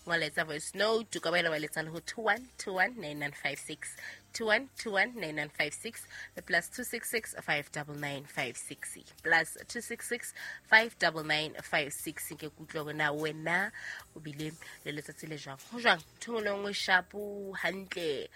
Ngoletsa voice note, o ka boela wa letsa le ho 21219956, 21219956 le +266 59956, +266 59956. Ke kutlwe hore na wena o bile le letsatsi le jwang, ho jwang, ntho engwe le nngwe shapo hantle.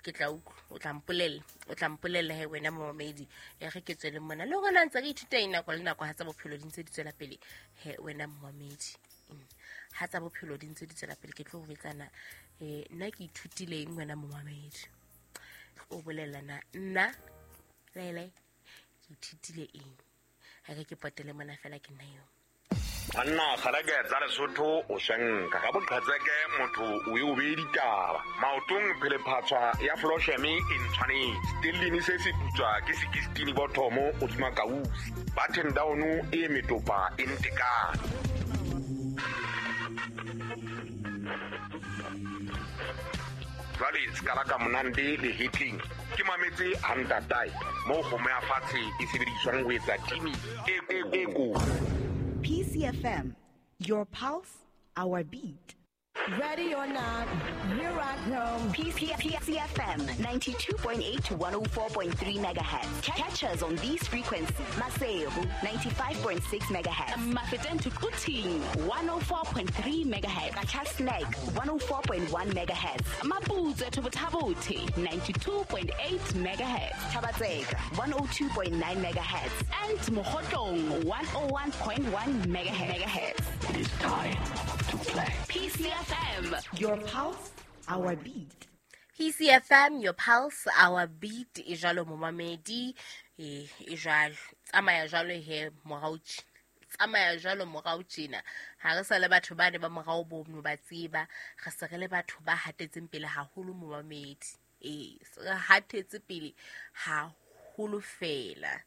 Ke tla utlwa, o tla mpolella, o tla mpolella he wena momamedi. E re ke tswele mona le rona ntse re ithuta eng nako le nako ha tsa bophelo di ntse di tswela pele. He wena momamedi, ha tsa bophelo di ntse di tswela pele, ke tlo go betsana nna ke ithutile eng wena momamedi. O bolela na nna lele ke ithutile eng? Ha ke potele mona fela, ke nna eo. Banna kgaleke tsa Lesotho, o swenka ka boqhetseke, motho o e o bee ditaba maotong. Phelephatshwa ya flosheme e ntshwanetse stellini se se putswa ke sekistini bothomo o tsuma kausi button down e metopa e ntekane. Jwale sekala ka monande le hitling ke mametse hantatae moo kgomo ya fatshe e sebediswang ho etsa timi e kotsi. PCFM, your pulse, our beat. Ready or not, here I come. PCFM 92.8 to 104.3 megahertz. Catch us on these frequencies. Maseru 95.6 megahertz. Mafeteng to Quthing 104.3 megahertz. Qacha's Nek 104.1 megahertz. Maputswe to Botha-Bothe 92.8 megahertz. Thaba-Tseka 102.9 megahertz. And Mokhotlong 101.1 megahertz. It is time to play. PCFM, your pulse, our beat. PCFM, your pulse, our beat. E jwalo momamedi, e jwalo. Tsamaya jwalo he morao tsamaya jwalo morao tjena. Ha re sa le batho ba ne ba morao bo no ba tseba, re se re le batho ba hatetseng pele haholo momamedi. E se re hatetse pele haholo fela.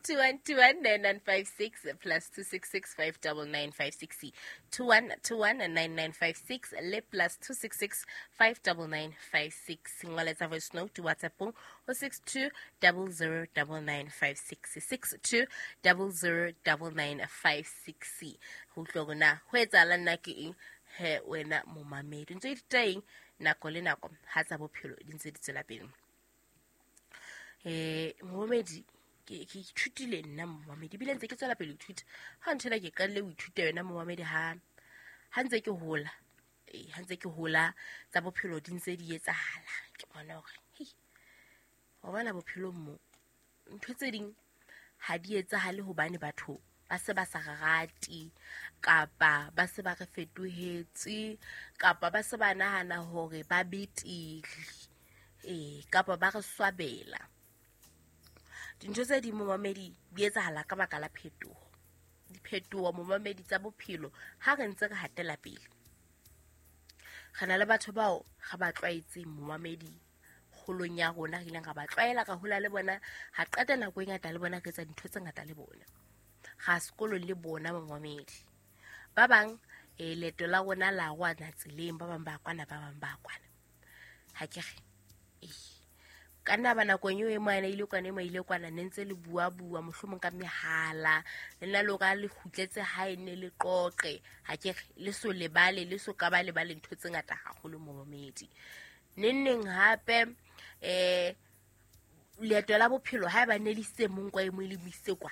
21219956 +266 59956, 21219956 le +266 59956. Ngoletsa voice note WhatsApp ho 62009956, 62009956. Ho utlwa hore na ho etsahala nna ke eng he wena momamedi. Ntse ithuta eng nako le nako ha tsa bophelo di ntse di tswela pele. Momamedi, ke ithutile nna momamedi, ebile ntse ke tswela pele ho ithuta. Ha nthwena ke qadile ho ithuta yona momamedi ha ntse ke hola. Ha ntse ke hola tsa bophelo di ntse di etsahala. Ke bona hore hei, wa bona bophelong mo ntho tse ding ha di etsahale hobane batho ba se ba sa re rate, kapa ba se ba re fetohetse, kapa ba se ba nahana hore ba betere, kapa ba re swabela. Dintho tse ding momamedi di etsahala ka baka la phetoho. Diphetoho momamedi tsa bophelo ha re ntse re hatela pele. Re na le batho bao re ba tlwaetseng momamedi kgolong ya rona, re ileng ra ba tlwaela, ra hola le bona, ra qeta nako e ngata le bona, re etsa dintho tse ngata le bona. Ra sekolong le bona momamedi. Ba bang leeto la rona la rwana tseleng, ba bang ba kwana, ba bang ba kwana. Ha ke re ka nna ba nakong eo e moana ile kwana, e mo ile kwana, ne ntse le bua-bua mohlomong ka mehala, le nna le hore le kgutletse hae ne le qoqe. Ha ke re le so lebale, le so ka ba lebale ntho tse ngata haholo momamedi. Neng neng hape leeto la bophelo ha eba ne le isitse mong kwa e mo le mo isitse kwa,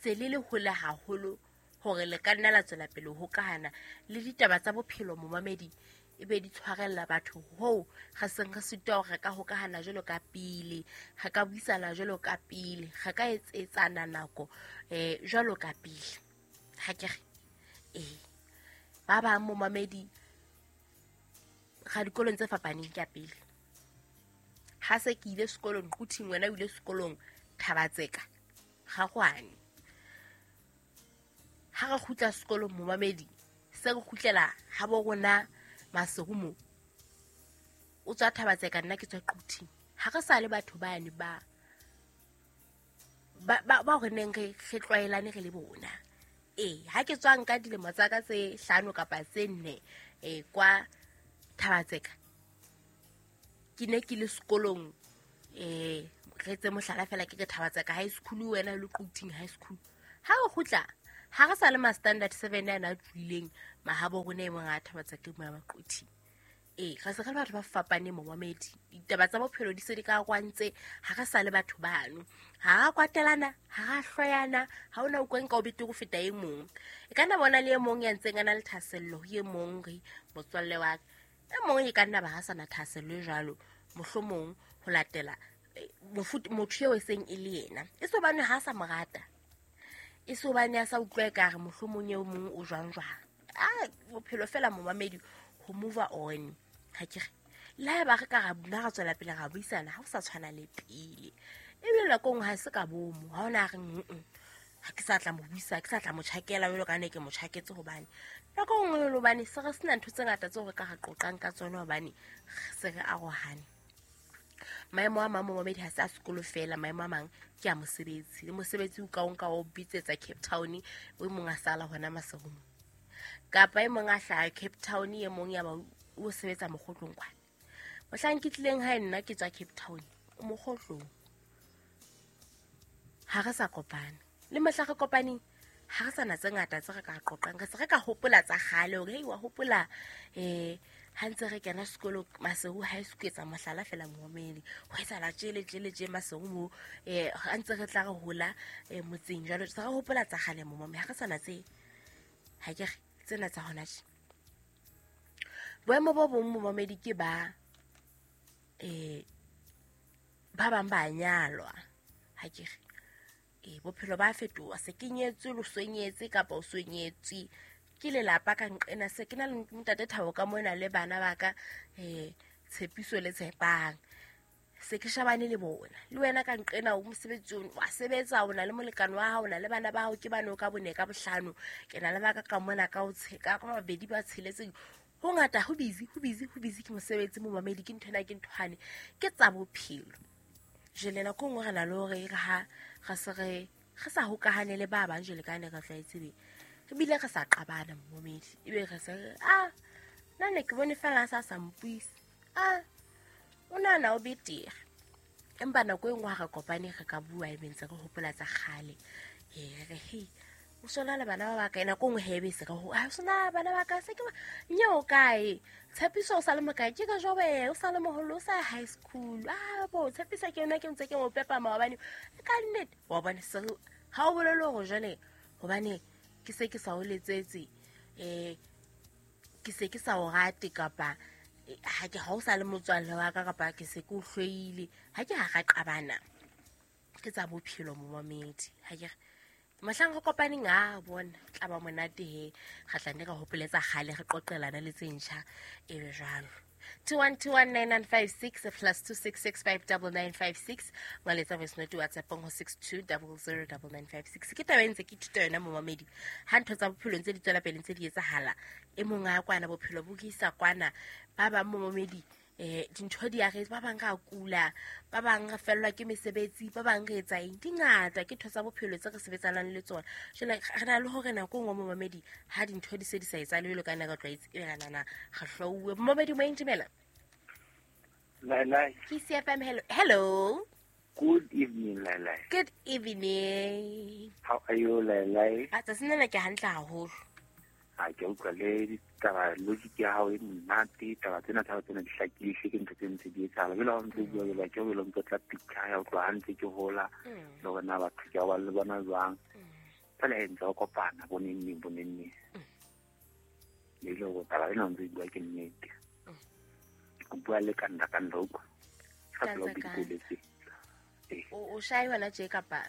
se le le hole haholo hore le ka nna la tswela pele ho hokahana le ditaba tsa bophelo momamedi, e be di tshwarella batho hoo re seng re sitwa hore re ka hokahana jwalo ka pele, re ka buisana jwalo ka pele, re ka etsetsana nako jwalo ka pele. Ha ke re ba bang momamedi ga dikolong tse fapaneng ka pele. Ha se ke ile sekolong Quthing, wena o ile sekolong Thaba-Tseka, ga kwane. Ha re kgutla sekolong momamedi, se re kgutlela ha bo rona Maseru mo. O tswa Thaba-Tseka, nna ke tswa Quthing. Ha re sa le batho bane ba ba re neng re tlwaelane re le bona. Ha ke tswa nka dilemo tsa ka tse 5 kapa tse 4 kwa Thaba-Tseka, ke ne ke le sekolong, re tse mohlala fela ke re Thaba-Tseka high school, wena le Quthing high school. Ha re kgutla, ha re sa le ma standard 7 ana a tlohileng Mahabo rona e mong a thabatsa ke moya maquthi. Re se re le batho ba fapaneng momamedi. Ditaba tsa bophelo di se di ka kwantse, ha re sa le batho bano. Ha ra kwatelana, ha ra hloyana, ha ona o nka o betere ho feta e mong. E ka nna bona le e mong ya ntseng a na le thahasello ho e mong re motswalle wa ka. E mong e ka nna ba ha sana thahasello e jwalo, mohlomong ho latela motho eo e seng e le yena. E se hobane ha sa mo rata. E se hobane a sa utlwa ekare mohlomong e mong o jwang jwang. A bophelo fela momamedi ho move on. Ha ke re le haeba re ka ra nna ra tswela pele ra buisana ha o sa tshwana le pele. Ebile nako nngwe ha se ka bomo, ha ona re ha ke sa tla mo buisa, ke sa tla mo tjhakela jwalo ka ne ke mo tjhaketse hobane nako nngwe le hobane se re sena ntho tse ngata tseo re ka ra qoqang ka tsona hobane se re arohane. Maemo a mang momamedi ha se a sekolo fela, maemo a mang ke a mosebetsi. Le mosebetsi o ka o nka o bitsetsa Cape Town, o mong a sala hona Maseru. Kapa e mong a hlaha Cape Town, e mong ya ba o sebetsa mokgotlong kwana. Mohlang ke tlileng hae nna ke tswa Cape Town, o mokgotlong. Ha re sa kopana. Le mohla re kopaneng, ha re sa na tse ngata tse re ka qoqang. Re se re ka hopola tsa kgale hore hei wa hopola ha ntse re kena sekolo Maseru High School, etsa mohlala fela momamedi. Ho etsahala tjele tjele tje Maseru mo, ha ntse re tla re hola motseng jwalo, se re hopola tsa kgale momamedi. Ha re sa na tse, ha ke re tsena tsa hona tje. Boemo bo bong momamedi ke ba ba bang ba nyalwa. Ha ke re bophelo ba fetoha, se ke nyetswe lo sonyetse kapa o sonyetswe ke lelapa ka nqena, se ke na le ntate Thabo ka mona le bana ba ka Tshepiso le Tshepang. Se ke shabane le bona. Le wena ka nqena o mosebetsing, wa sebetsa, o na le molekane wa hao, o na le bana ba hao, ke bane o ka bone ka bohlano. Ke na le ba ka ka mona ka o ka babedi ba tsheletseng. Ho ngata, ho busy, ho busy, ho busy ke mosebetsi momamedi, ke nthwena, ke nthwane, ke tsa bophelo. Jwale nako nngwe re na le hore re ha re se re sa hokahane le ba bang jwale ka ne re tlwaetse be. Re bile re sa qabana momamedi. Ebe re se nna ne ke bone fela a sa mpuise. O nahana o betere. Empa nako e nngwe ha re kopane re ka bua ebe ntse re hopola tsa kgale. Re hei, o sona le bana ba bakae? Nako nngwe he ebe se re ho, o sona bana ba ka se ke nye o kae? Tshepiso o sa le mokae? Ke ka jobe, o sa le moholo, o sa high school. Bo Tshepiso ke yona ke ntse ke mo pepa maobane. Ka nnete, wa bona se ha o bolele hore jwale hobane ke se ke sa o letsetse, ke se ke sa o rate kapa ha ke ha o sa le motswalle wa ka kapa ke se ke o hloile. Ha ke ha ra qabana. Ke tsa bophelo momamedi. Ha ke mohlang re kopaneng, a bona tla ba monate he. Re tla nne re hopoletsa kgale, re qoqelana le tse ntjha ebe jwalo. 21219956 plus 266599956. Ngwaletsa voice note WhatsApp ho 62009956. Ke taba e ntse ke ithuta yona momamedi. Ha ntho tsa bophelo ntse di tswela pele ntse di etsahala, e mong a kwana bophelo bo isa kwana, ba bang momamedi dintho di a re, ba bang ra kula, ba bang re fellwa ke mesebetsi, ba bang re etsa eng, di ngata ke ntho tsa bophelo tse re sebetsanang le tsona. Jwale re na le hore nako nngwe momamedi ha dintho di se di sa etsahale jwalo ka ne re tlwaetse, ebe re nana re hlouwe. Momamedi moyeng, dumela. Lai. Ke CFM, hello. Hello. Good evening, Lai. Good evening. How are you, Lai? A tsatsing lena ke hantle haholo. Ha ke utlwa le ditaba logic ya hao e monate, taba tsena tsa tsena di hlakile, ke ntho tse ntse di etsahala. Jwale ha o ntse o bua jwalo, ke o ntse tla picture ya utlwa ha ntse ke hola, le hore na batho ke ba le bona jwang. Fela e ntse o kopana bo neng neng, bo neng neng. Le ile hore taba ena o ntse o bua ke nnete. O bua le ka nna ka nna utlwa. Ka tsela o bikoletse. O shae hona tje kapa?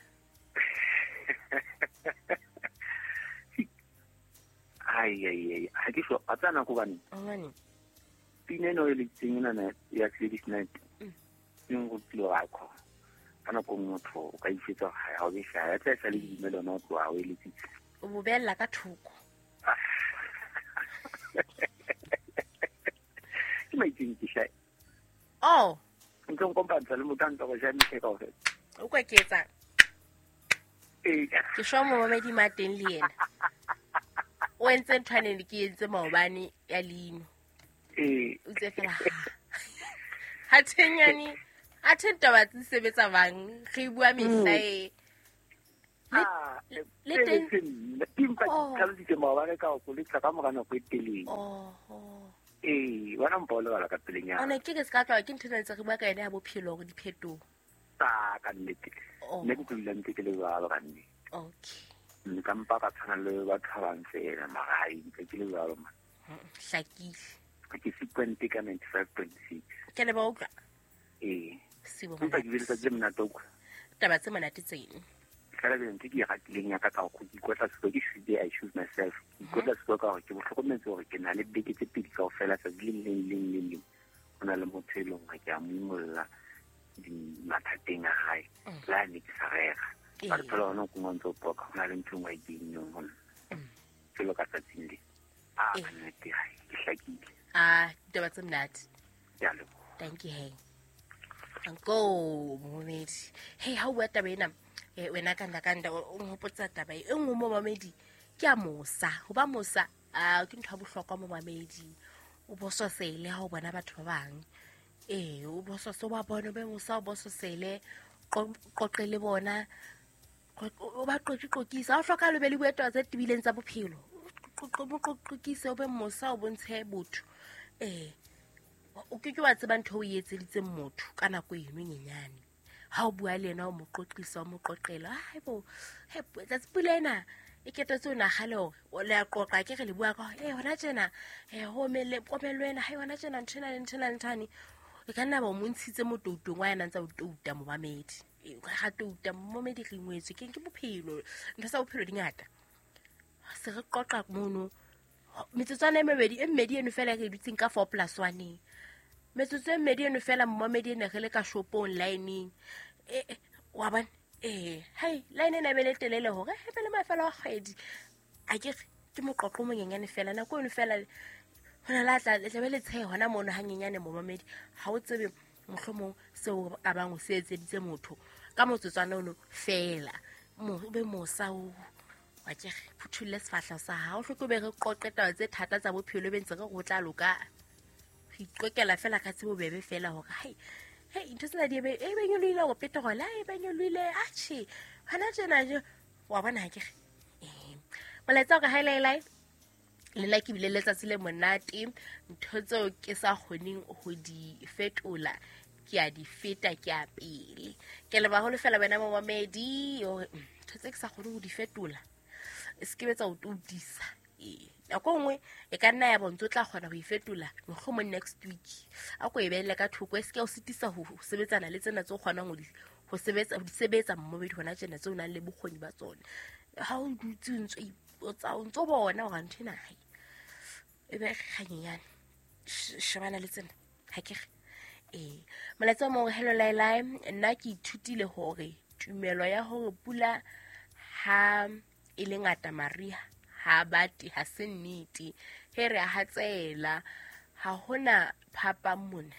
Ai, ha ke sho, a tsana go bane. Ngwane. Pina eno e le tseng ena ya Ladies Night. E nrutile wa ko. Ka nako motho o ka isetsa ha o be sha, ya tla sa le dumela ona o tloha o e letsitse. O bo bella ka thoko. Ke maitseng ke sha. Oh, ntse nkopantsha le motho a ntse go ja mehle kaofela. O kwa ke etsang? Ke shwa momamedi ma teng le yena. O entse ntho ane ke entse maobane ya leino. O tse fela ha thenyane, ha teng taba tse sebetsa bang, re bua mehla e. Le teng ke tlhalositse maobane ka go letsa ka mora nako e telele. Ee, wena mpa o lebala ka pelenyana. Ona ke ke se ka tloha ke ntho ena ntse re bua ka yona ya bophelo hore diphetoho. Ta ka nnete. Nna ke tlo dula ntse ke le jwalo ka nnete. Okay. Nka mpa ka tshwana le batho ba bang fela mara hai ntse ke le jwalo man. Hlakile. Ke sequente ka 95.6. Ke leboha utlwa. Ee. Sibo. Empa ke bile tsatsi le monate utlwa. Taba tse monate tseno. Fela ke ntse ke e ratileng ya ka ka gore ke ikotla sefuba ke should I choose myself. Ke ikotla sefuba ka gore ke bohlokometse gore ke na le beke tse pedi kaofela tsatsi le leng le leng le leng. Ho na le motho e leng hore ke a mo imolla mathateng a hae. Le ha ne ke sa rera. Ba re thola hona o kungwa ntse o poka ho na le ntho e nngwe a e kenneng ho nna. Jwalo ka tsatsing le. Ah, ka nnete hai, ke hlakile. Ah, ditaba tse monate. Ke a leboha. Thank you, hey. Go, momedi. Hey, ha o bua taba ena, wena kanda o nhopotsa taba e nngwe mo mamedi ke a mosa. Ho ba mosa, ke ntho ya bohlokwa mo mamedi. O bososele ha o bona batho ba bang. Ee, o bosose wa bona, o be mosa, o bososele, qoqe le bona. O ba qoqisa. Ha o hloka le be le bue taba tse tebileng tsa bophelo. Qoqise, o be mosa, o bontshe botho. Ee. O ke ke wa tseba ntho o e etseditseng motho ka nako eno e nyenyane. Ha o bua le yena o mo qoqisa, o mo qoqela. Haibo, he tsatsi pula ena e ketetse o nagale hore o le a qoqa ke re le bua ka hore, hona tjena, ho omelle, komello ena, hai hona tjena ntho ena le ntho ena le ntho ane. E ka nna ba o mo ntshitse motoutong wa yena ntse a o touta momamedi. Ga touta momamedi re ingwetswe ke bophelo. Ntho tsa bophelo di ngata. Se re qoqa mono. Metsotswana e mebedi e mmedi eno fela re dutseng ka 4+1. Metsotso e mmedi eno fela momamedi ene re le ka shopong lineng. Wa bona? Hai, line ena e be le telele hore e be le mafelo a kgwedi. A ke re ke moqoqo o monyenyane fela nako eno fela hona la tla le tlabe le tshehe hona mono hanyenyane momamedi. Ha o tsebe mohlomong seo ka bang o se etseditse motho ka motsotswana ono fela. Mo o be mosa o wa ke re phuthulle sefahleho sa hao, o hloke o be re qoqe taba tse thata tsa bophelo be ntse re go tla loka. Re iqokela fela ka tsebo bebe fela hore hai, hei ntho tsena di e be nyolohile hore petrol e be nyolohile, atjhe hona tjena je wa bona ha ke re. Molaetsa o ka haelaelai le nna ke bile letsatsi le monate. Ntho tseo ke sa kgoneng ho di fetola ke a di feta ke a pele. Ke leboha haholo fela wena momamedi hore ntho tse ke sa kgoneng ho di fetola e se ke be tsa o toutisa. Nako nngwe e ka nna ya bo ntse o tla kgona ho e fetola mohlomong next week. A ko e behelle ka thoko e se ke o sitisa ho sebetsana le tsena tse o kgonang ho di sebetsa momamedi hona tjena tseo o nang le bokgoni ba tsona. Ha o dutse o ntso ipotsa, o ntso bona hore ntho ena hai e be kganyenyane. Shebana le tsena ha ke re. Molaetsa o mong, hello Lailai, nna ke ithutile hore tumelo ya hore pula ha e le ngata mariha ha bate ha se nnete. He re a hatsela, ha hona phapang mona.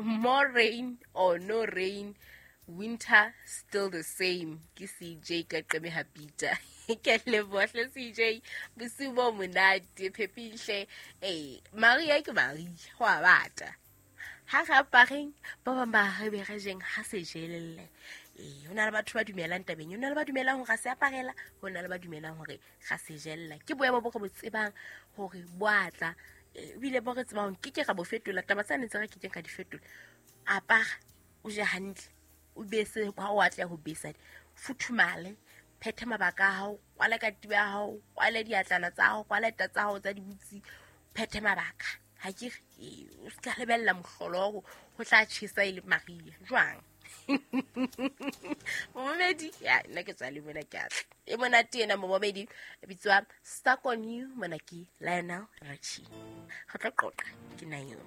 More rain or no rain, winter still the same. Ke CJ ka Qeme ha Peter. Ke leboha hle CJ, bosiu bo monate phepihle. Maria ke Maria, ho a bata. Ha re apareng, ba bang ba re be re jeng ha se jelelle. Ho na le batho ba dumelang tabeng, ho na le ba dumelang hore ga se aparela, ho na le ba dumelang hore ga se jella. Ke boemo bo re bo tsebang hore bo a tla, ebile bo re tsebang ke ke ra bo fetola. Taba tsane tse re ke keng ka di fetola. Apara, o je hantle, o bese ha o atleha ho besa, futhumale, phethe mabaka a hao, kwale katiba ya hao, kwale diatlana tsa hao, kwale ta tsa hao tsa dibutsi, phethe mabaka. Ha ke re, o se ka lebella mohlolo ho tla tjhesa e le Maria. Jwang? Momamedi, ya nna ke tswa le mona ke atla. E monate ena momamedi, e bitswa Stuck on You, mona ke Lionel Richie. Re tlo qoqa ke nna eo.